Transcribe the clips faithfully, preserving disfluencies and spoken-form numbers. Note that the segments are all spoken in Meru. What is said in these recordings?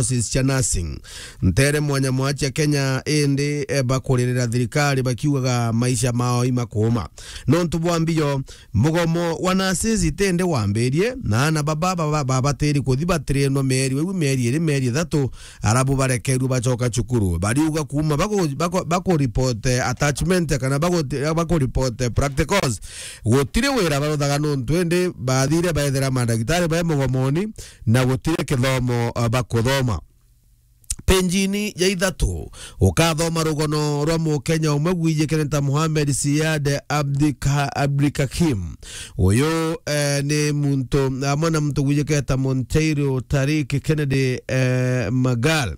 courses cia nursing ntere mwanya mwanya cia Kenya, indi, eh, bakuririra thirikari bakiugaga maisha mao imakuuma. Nontu bwa mbio, mugomo wa nurses itindi wambirie, na ana baba, baba, babatiri kuthi batirinwa mieri, iu mieri iri, mieri ithatu, arabu barekerwe bacoka cukuru. Bariuga kuuma baku-, baku-, bakuriport, eh, attachment kana baku-, bakuriport, eh, practicals, gutiri wira baruthaga nontu indi bathire baethera mandagitari bai mugomoni, na gutiri kithomo, eh, bakuthoma. Penjini ya ithatu, ukathoma rugono rwa Mukenya umwe gwijikene ta Mohamed Siad Abdika-, Abdikakim. Uyu, eh, ni muntu, amwe na muntu gwijikene ta Monteiro Tariq Kennedy, eh, Magal.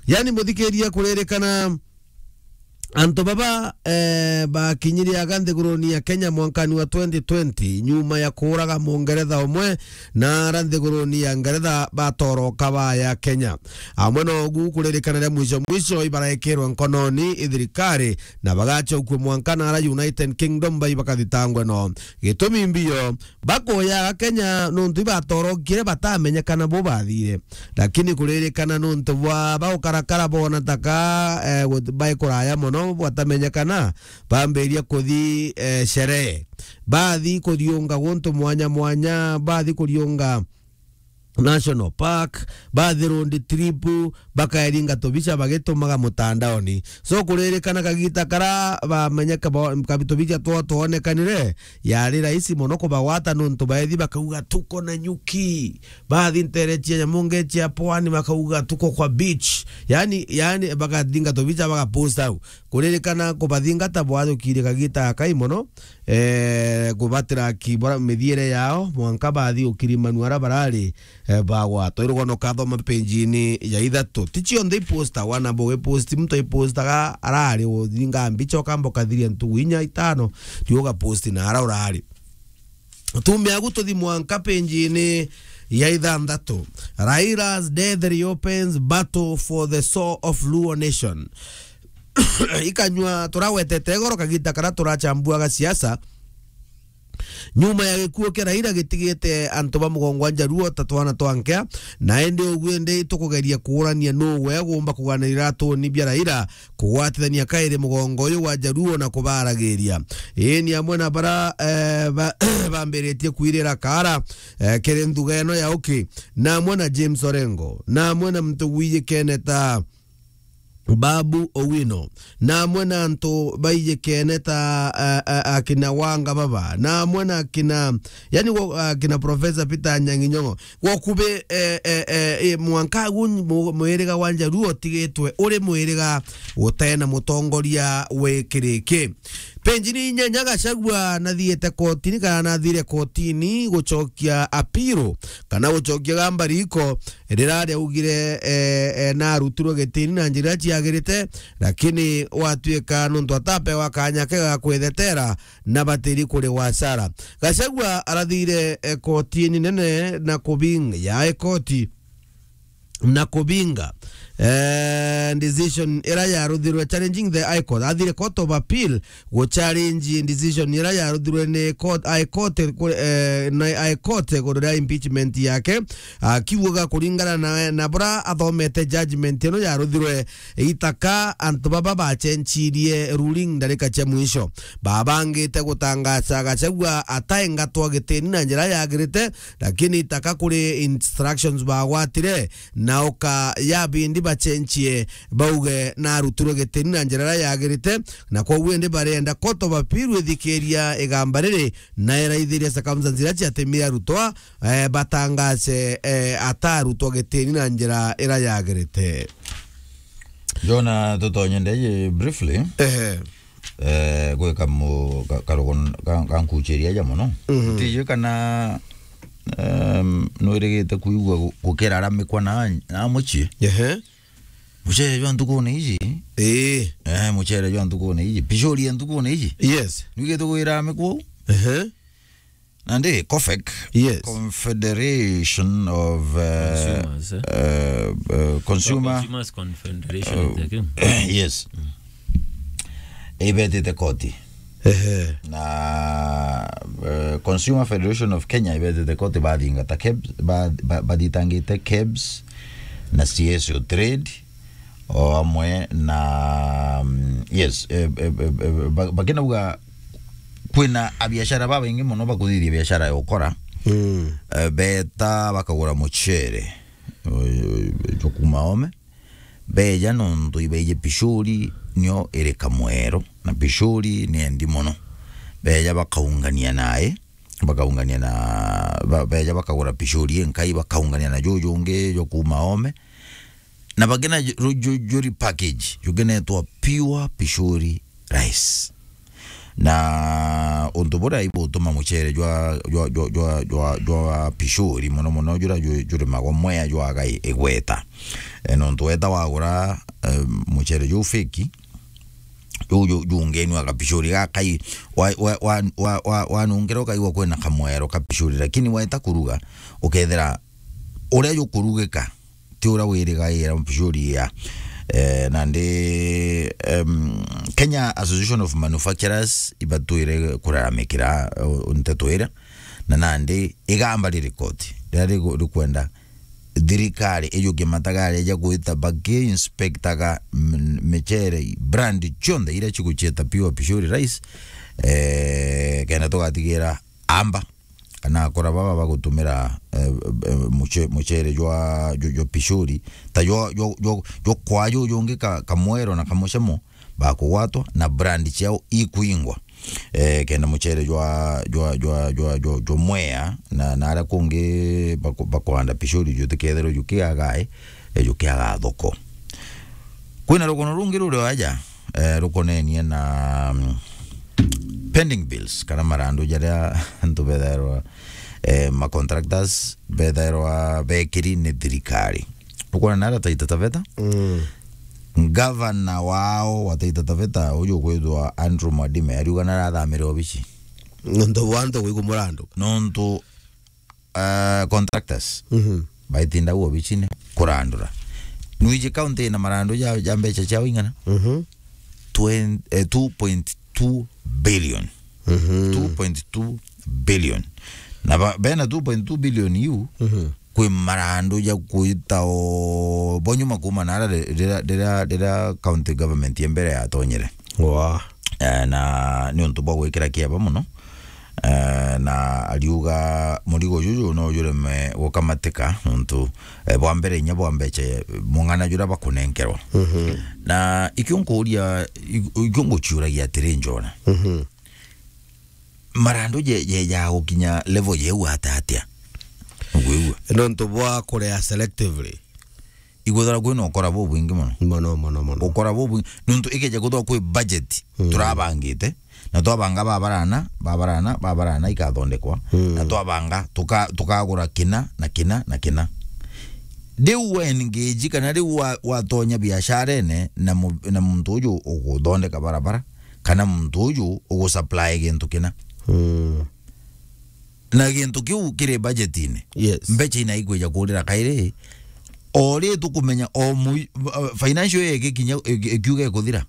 Yani, muthikiria, kuririkana antu baba, eh, bakinyire aga nthiguruni ya Kenya mwankani wa twenty twenty, nyuma ya kuuraga Mungeretha umwe, na ara nthiguruni ya Ngeretha batoroka baya Kenya. Amwe nogu, kuririkana ria mwisho mwisho, ibaraikirwe nkononi i thirikari, na bagacokua mwanka na ara United Kingdom bai bakathitangwe no. Gitumi mbio, bakoyaga Kenya nontu ibatorokire, batamenyekana bo bathire. Lakini kuririkana nontu bwa baukarakara bona taka, eh, gut-, bai kuraya mono batamenyekana, bambiria kuthi, eh, sherehe. Bathi kuriunga guntu mwanya mwanya, bathi kuriunga National Park, bathi road trip, bakaeringa tubica bagitumaga mutandaoni. So, kuririkana kagita kara bamenyeka ba-, kabi-, tubica twao twonekanire, yari rahisi mono kubagwata nontu baethi bakauga, "Tuko na nyuki." Bathi ntere cia nyamu nge cia pwani bakauga, "Tuko kwa beach." Yani, yani, bakathinga tubica bagapost au. Kuririkana kubathingata bwathukire kagita gakai mono, eh, kubatira ki bora mithiere yao, mwanka bathi ukirimanua ara barari, eh, bagwatwa. Irugono kathoma penjini ya ithatu. Ti cionthe ipostawa, na bo iposti, muntu ipostaga arari uthinga mbicha, ukamba ukathiria ntugu inya itano, ndio ugaposti na ara urari. Tumia agu tuthi mwanka penjini ya ithanthatu. Raila's death reopens battle for the soul of Luo nation. Ikanyua turawetete igoro kagita kara turachambuaga siasa. Nyuma ya gikuo kia Raila gitigite antu ba mugongo wa Njaruo ta twana twa nkea, na indi ugu indi tukugeria kuurania nuu we gumba kuganira iratuni bia Raila kugwatithania kairi mugongo uyu wa Njaruo na kubaragiria. Ii ni amwe na bara, eh, ba-, bambiritie kwirira kaara, eh, kiri nthuga ino ya uki, na amwe na James Orengo, na amwe na muntu gwijikene ta Babu Owino, na amwe na antu baijikene ta, a, a, akina Wanga Baba, na amwe na akina, yani, wo-, akina Professor Peter Anyang'i Nyong'o. Gwakubi, eh, eh, eh, eh, mwanka agu mu-, mwiriga wa Njaruo utigitwe uri mwiriga utena mutongoria wi kiriki. Penjini inyanya, Gachagua nathiite kotini, kana nathire kotini gucokia appeal, kana gucokia gamba riko, rira riaugire, eh, eh, narutirwe gitini na njira ciagirite, lakini gwatuika nontu atapewa kanya ke ga kwithetera na batiri kuri wasara. Gachagua arathire, eh, kotini nene na kubing-, ya koti na kubinga, eh, decision ira yaruthirwe, challenging the High Court. Athire Court of Appeal gu challenge decision ira yaruthirwe ni court, High Court, ku-, eh, na High Court iguru ria impeachment yake, akiugaga kuringana na, na bura athomete judgment ino yaruthirwe, itaka antu baba bacenchirie ruling ndarika cia mwisho. Babangite gutangaca Gachagua ataengatwa gitini na njira yagirite, lakini itaka kuri instructions bagwatire, na uka ya bindi bacenchie, bauge narutirwe gitini na njira iria yagirite, na kwoguo indi barenda Court of Appeal ithikiria igamba riri, na iraithiria circumstances iria ciatumire arutwa, eh, batangace, eh, atarutwa gitini na njira iria yagirite. Jona, tutonye ndei briefly. Ehe. Eh, gwika mu-, ka-, karugo n-, ka-, kankuchiria ja mono. Mhm. Ntiji kana, em, nwirigite kwigua gu-, gukira aramikwa na, na mucii. Ehe. Mucere jwa ntukune iji. Ii. Eh, mucere jwa ntukune iji. Pishori ya ntukune iji. Yes. Nwigite gwira aramikwa uu? Ehe. Nandi COFEC, yes, Confederation of, uh, Consumers, eh? Uh, uh, Consumer, Consumers Confederation, uh, I think. Yes. Mm. Ibetite koti. Ehe. Na, uh, Consumer Federation of Kenya ibetite koti bathingata KEBS, ba-, ba-, bathitangite KEBS, na C S O Trade, o amwe na, mm, yes, eh, eh, eh, eh, ba-, bakinauga kwina abiashara babaingi mono bakuthithia biashara ya ukora. Mm. Eh, beta bakagura mucere, eh, jwa kuma Oome. Beja nontu ibaiji Pishori nio iri Kamwero, na Pishori ni endi mono. Beja bakaungania nae, bakaungania na, ba-, beja bakagura Pishori inkai, bakaungania na juju ungi jwa kuma Oome. Na bakina ju-, ju-, ju-, juri package, jukinetwa pure Pishori rice. Na untu buria ibutuma mucere jwa, jwa, jwa, jwa, jwa, jwa Pishori, mono mono juria ju-, jurimagwa Mwea jwaga i-, igweta. E, nontu weta wagura, e, mucere juu fake, juu, juu, jungenwa ga Pishori gakai, wa, wa, wa, wa, wa, wanungera ukaigua kwina kamwero ka Pishori, lakini weta kuruga, ukethira uria jukurugika, ti uria wirigaira Pishori ya. Eh, nandi, em, Kenya Association of Manufacturers ibatwire kuraramikira, eh, nteto iria. Na nandi igamba riri koti, riria rigu-, rikwenda thirikari ijukie matagaria ja gwita baki inspectaga m-, michere, brand cionthe iria cigucieta pure Pishori rice, eh, kenda tugatigira amba kana akora baba bagutumira, eh, eh, muce-, mucere jwa, jwa, jwa Pishori, ta jwa, jwa, jwa, jwa kwa juju ungi ka, kamwero na kamucamo, bakugwatwa na brand ciao ikuingwa. Eh, kenda mucere jwa, jwa, jwa, jwa, jwa, jwa Mwea na, na aria kungi baku-, bakuhanda Pishori jutikethirwe jukiaga, eh, jukiaga thoko. Kwina rugono rungi ruri aja, eh, rukonenie na, mm, pending bills, kana marandu jaria antu bethairwa, eh, ma contractors bethairwa bekiri ni thirikari. Ukwona nara Taita Taveta? Mm. Ngavana wao wa Taita Taveta, uju ukwithwa Andrew Mwadime, ariuga narathamire obici. Nontu bwa antu gwikwa murandu. Nontu, eh, contractors, mhm, baitinda u obicine kurandura. Nwiji county ina marandu ja, ja mbeca ciao ing'ana? Mhm. Twen-, eh, two point two billion. Mhm. Two point two billion. Na ba-, bena two point two billion iu, mhm, kwi marandu ja kuita o bo nyuma kuma nara ri-, rira, rira, rira county government ya mbere yatonyire. Wa. Eh, na ni untu bwa gwikira kieba mono. Eh, na ariuga murigo juju no jureme gukamatika nontu, eh, bwa mbere inya bwa mbeca, eh, mung'ana juria bakunenkerwa. Mhm. Na ikio nkuria, ik-, ikio nguciuragia atiri, Njona. Mhm. Marandu je, je, ja gukinya level jeu ata atia? Ugwigua? Nontu bwa kurea selectively. Igwethagirwa kwina ukora bubwingi mono. Mono, mono, mono. Ukora bubwingi. Nontu ikeja kwithirwa kwi budget, mm, turabangite, na twabanga babarana, babarana, babarana ikathondekwa, mm, na twabanga, tuka-, tukagura kina, na kina, na kina. Riu we engage kana riu wa-, watonya biasharene na mu-, na muntu uju uguthondeka barabara, kana muntu uju ugusupply gintu kina. Mm. Na gintu kiu kiri budgetine. Yes. Mbeca ina ikwija kurira kairi. O ri tukumenya o mu-, uh, financial year igikinya, iki-, ikiuga ikuthira,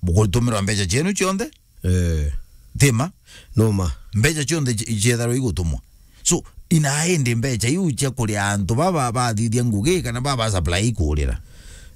bugutumirwa mbeca cienu cionthe? Eh. Tima? Numa. Mbeca cionthe ci-, cietharwa igutumwa. So, ina indi mbeca iu cia kuria antu baba bathithia ngugi kana baba supply ikurira?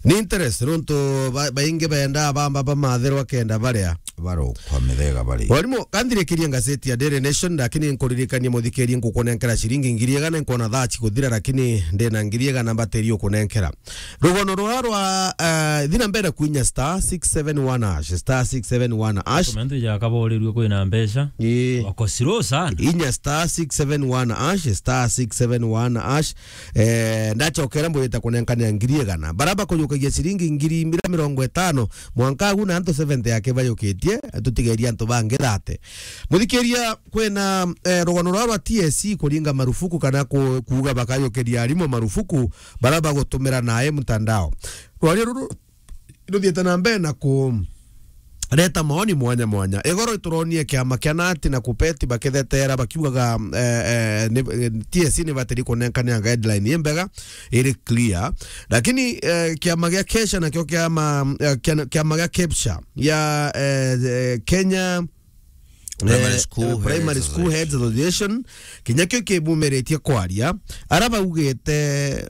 Ni interest, nontu ba-, baingi benda bamba bamathirwa kenda baria. Barokwa mithega bari. Warimu, kanthirikirie ngazeti ya Daily Nation, lakini nkuririkanie muthikirie, ngukunenkera ciringi ngiri igana, nkona thaa cikuthira, lakini ndina ngiri igana mbatiri ukunenkera. Rugono rwa, rwa, eh, thina mbere kwinya star six seven one hash, star six seven one hash. Komento ijakaborerirwe kwina mbeca. Ii. Wako slow sana. Inya star six seven one hash, star six seven one hash. Eh, ndachokera mbwite kunenkanira ngiri igana. Bara bakujukagia ciringi ngiri mira mirongo itano, mwanka agu na antu seventy yake bajukitie, tutigeria antu bangi thate. Muthikiria, kwina, eh, rugano rwa rwa T S C kuringa marufuku kana ku-, kuuga bakajukiria arimu marufuku, bara bagutumira nae mtandao. Rwaria ruru ruthiite na mbere na ku-, reta maoni mwanya mwanya. Igoro ituronie kiama kia nati na kupeti bakithetera bakiugaga, eh, eh, ni, eh, T S C ni batiri kunenkanira guideline imbega, iri clear. Lakini, eh, kiama gia kesha nakio kiama, eh, kia-, kiama gia kepsha ya, eh, eh, Kenya Primary Eh, School eh, Primary Heads School Heads Association. Association, kinya kio kibumiritie kwaria, ara baugite, eh,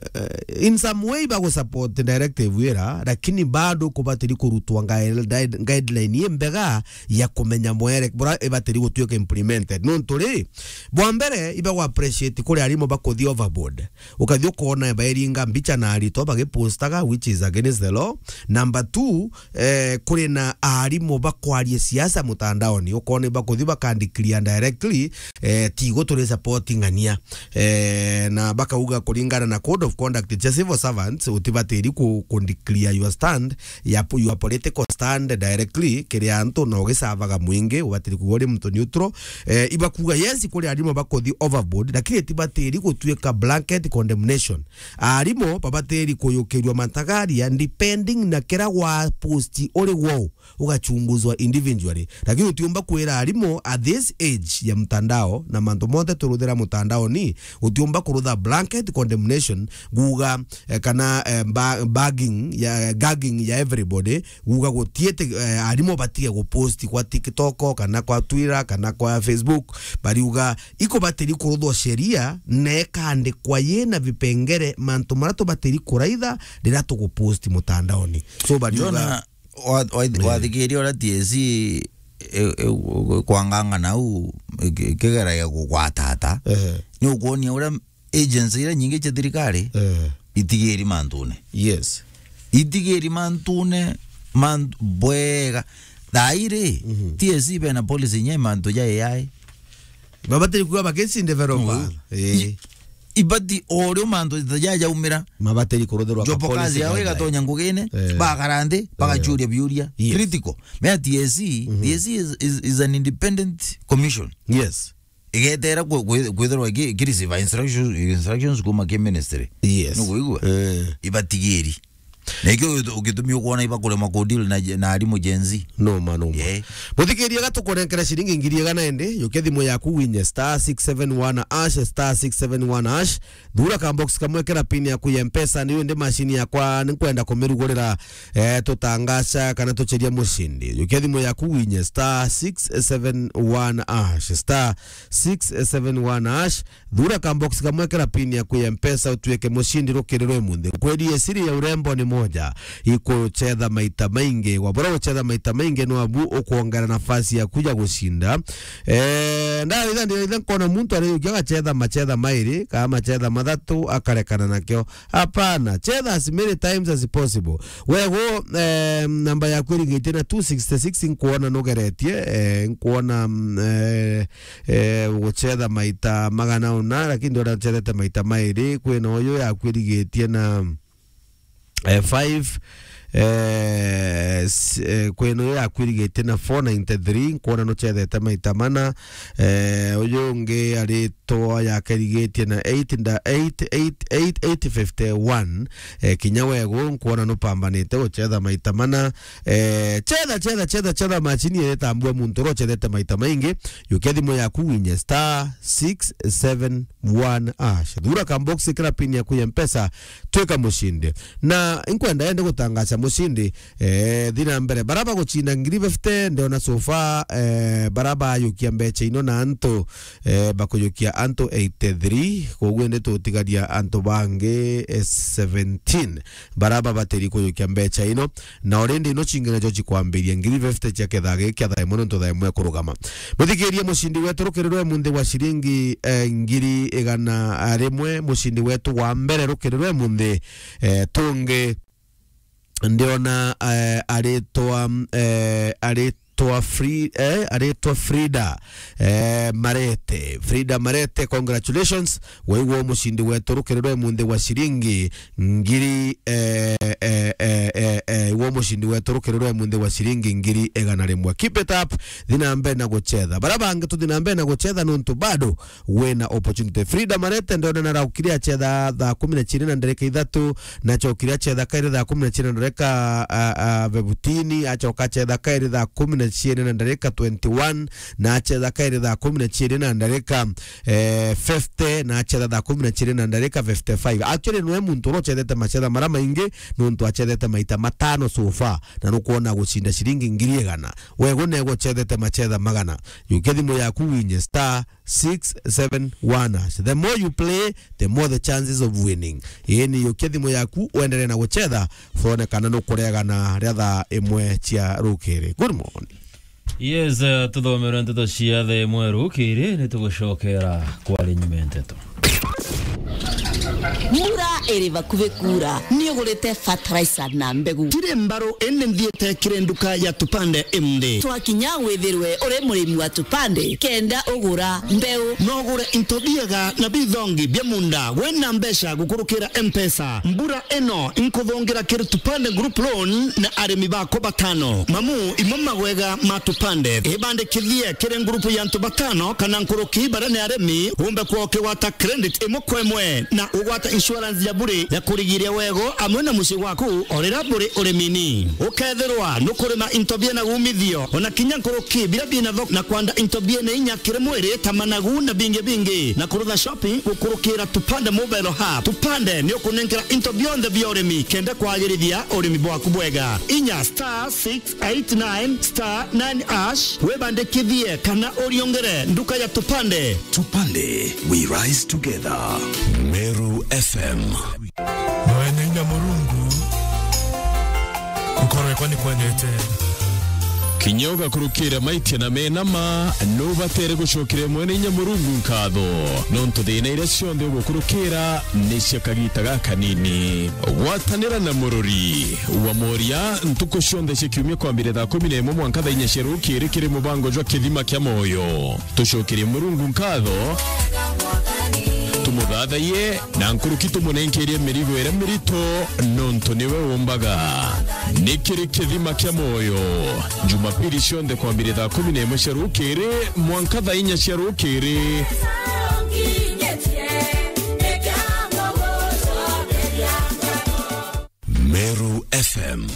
in some way bagusupport directive ira, lakini bado kubatiri kurutwa guide-, guide-, guideline imbega ya kumenya mwere bura ibatiri gutuika implemented. Nontu ri, bwa mbere, ibagu appreciate kuri arimu bakuthi overboard. Ukathi ukona bairinga mbicha na aritwa bagipostaga, which is against the law. Number two, eh, kuri na arimu bakwaria siasa mutandaoni, ukona bakuthi bakandikria directly, eh, tigo turi support ng'ania. Eh, na bakauga kuringana na code of conduct cia civil servants, utibatiri ku-, kundikria your stand, ya po-, your political stand directly kiri antu, na ugisavaga mwingi, ubatiri kuuga uri muntu neutral. Eh, ibakuga yes, kuri arimu bakuthi overboard, lakini tibatiri gutuika blanket condemnation. Arimu babatiri kuyukirua matagaria depending na kira wa post uri gwou, ugachunguzwa individually. Lakini utiumba kwira arimu at this age ya mtandao na mantu monthe turuthira mutandao ni, utiumba kurutha blanket condemnation, guga, eh, kana, eh, ba-, bagging ya, gagging ya everybody, guga gutiete, eh, arimu batige gupost kwa TikTok, kana kwa Twitter, kana kwa Facebook, bariuga ikubatiri kuruthwa sheria, na ikandikwa yina vipengere, mantu maria tubatiri kuraitha riria tugupost mutandaoni. So, bariuga Jona, wa-, wa-, Ii. wathikiria uria T S C i-, i-, kwanganga nau, iki-, ikigeragia kugwatata, Ehe. ni ukuonia uria agency iria nyingi cia thirikari Eh. itigiri mantune. Yes. Itigiri mantune, man-, bwega. Thairi, Mhm. T S C bena policy nye mantu ja A I. Babatiri kuga bakesi developer. Mhm. Eh. I-, ibati o rio mantu ja jaumira. Mabatiri kuruthirwa ka Jopo kazi policy yao guideline. Igatonya ngugine, Eh. bagara nthi, Eh. bagachuria biuria. Yes. Critical. Mea T S C, Mhm. T S C is, is, is an independent commission. Yes. Igetera kwe-, kwe-, kwithirwa iki-, ikirisiva instructions, instructions kuma ki ministry. Yes. Nukuigua? Eh. Ibatigiri. Na ikio ugitu-, ugitumi ukwona ibakurema ku deal na, na arimu Gen Z. No ma, no ma. Yeah. Muthikiria, gatukunenkera ciringi ngiri igana indi, yukia thimu yaku winye star six seven one hash, star six seven one hash, thura ka box kamwe, kira pin yaku ya Mpesa, niyo ndi machine yakwa, ninkwenda kumirugurira, eh, tutangaca kana tucheria mucindi. Yukia thimu yaku winye star six seven one hash, star six seven one hash, thura ka box kamwe, kira pin yaku ya Mpesa, utuike mucindi rukiri rwa imunthi. Kweli, siri ya urembo ni moja, ikuchetha maita maingi. Wabura guchetha maita maingi, no abu ukwongera nafasi yaku ya gucinda. Eh, ndaitha, ndaitha nkona muntu ariukia agachetha machetha mairi, kana machetha mathatu, akarekana nakio. Hapana, chetha as many times as possible. Wego, eh, namba yaku irigitie na two sixty-six, nkuona nugeretie, eh, nkuona, mm, eh, eh, guchetha maita magana una, lakini ndona uchethete maita mairi. Kwina uyu yaku irigitie na, eh, five, eh, s-, eh, kwina uyu yaku irigitie na four ninety-three, nkuona nuchethete maita mana. Eh, uyu ungi ari toa yake irigitie na eight nda-, eight, eight, eight, eight fifty-one. Eh, kinya wego nkuona nupambanite guchetha maita mana. Eh, chetha, chetha, chetha, chetha machini iria itambua muntu uria uchethete maita maingi. Yukia thimu yaku winye star six seven one hash. Thura ka box, kira pin yaku ya Mpesa, twika mucindi. Na inkwenda ende gutangaca mucindi, eh, thi na mbere. Bara baguchinda ngiri fifty, ndiona so far, eh, bara bayukia mbecha ino na antu, eh, bakuyukia antu eighty-three, koguo indi tutigaria antu bangi, eh, seventeen bara babatiri kuyukia mbecha ino, na already ino cingine jo cikwambiria ngiri fifty cia kethaa giki kia thaa imwe, nontu thaa imwe kurugama. Muthikiria, mucindi wetu rukiri rwa imunthi wa ciringi, eh, ngiri igana rimwe, mucindi wetu wa mbere rukiri rwa imunthi, eh, tungi ndiona, eh, aritwa, eh, aritwa Fri-, eh, aritwa Frida, eh, Marete. Frida Marete, congratulations. Waigua mucindi wetu rukiri rwa imunthi wa ciringi ngiri, eh, eh, eh, eh, eh, wo mucindi wetu rukiri rwa imunthi wa ciringi ngiri igana rimwe. Keep it up. Thi na mbere na guchetha. Bara bangi tuthi na mbere na guchetha nontu bado wina opportunity. Frida Marete ndona na raukire achetha thaa kumi na chiiri na ndarika ithatu, na chokire achetha kairi thaa kumi na chiiri na ndarika, a, a, fifteen, achoka achetha kairi thaa kumi na chiiri na ndarika twenty-one, na achetha kairi thaa kumi na chiiri na ndarika, eh, fifty, na achetha thaa kumi na chiiri na ndarika fifty-five. Actually, niwe muntu uria uchethete machetha mara maingi, nontu achethete maita matano so far, na nukwona gucinda ciringi ngiri igana. Wego nego uchethete machetha magana. Yukia thimu yaku winye star six seven one hash. The more you play, the more the chances of winning. Ii ni yukia thimu yaku, uendelee na guchetha, uone kana nukuregana ria thaa imwe cia rukiri. Good morning. Yes, eh, tuthomerwe nteto cia the imwe rukiri, ni tugucokera kwari nyuma ya nteto. Mbura iri bakuvi kuura, ni ugurite fertilizer na mbegu? Tiri mbaru, indi nthiite kiri nduka ya Tupande imdi. Twakinya withirwe uri murimi wa Tupande, kenda ugura mbeu. No ugure into biega na bithongi bia munda, wina mbeca gukurukira M-Pesa. Mbura ino inkuthungira kiri Tupande Group Loan na arimi bako batano. Mamu, imo magwega ma Tupande. Ibandikithie kiri ngurupu ya antu batano kana nkuruki baria ni arimi, umbe kwa ukigwata credit imwe kwa imwe na ugwata insurance ya bure ya kurigiria wego amwe na mucii waku o riria buri urimini. Ukethirwa nukurima into biena umithio, ona kinya nkuruki biria biena thoko, na kwanda into biena inya kiri mwiri ta managu na bingi bingi, na kurutha shopping gukurukira Tupande Mobile Hub. Tupande ni ukunenkera into bionthe bia urimi kenda kwagirithia urimi bwaku bwega. Inya star six eight nine star nine hash, wibandikithie kana uriongere nduka ya Tupande. Tupande, we rise together. Meru F M. Mwene inya Murungu, nkoro yakwa ni kwendete. Kinya ugakurukira maitia na mena ma, nubatere gucokeria Mwene inya Murungu nkatho, nontu thina iria cionthe ugukurukira ni cia kagita gakanini. Gwatanira na murori wa Moria ntuku cionthe cia kiumia kwambire thaa kumi na imwe mwanka thaa inya cia rukiri kiri mubango jwa Kithima kia Moyo. Tucokerie Murungu nkatho, tumuthathaiye, na nkuruki tumunenkerie mirigo iria mirito, nontu niwe umbaga. Ni kiri Kithima kia Moyo, Jumapili cionthe kwambire thaa kumi na imwe cia rukiri mwanka thaa inya cia rukiri. Meru F M.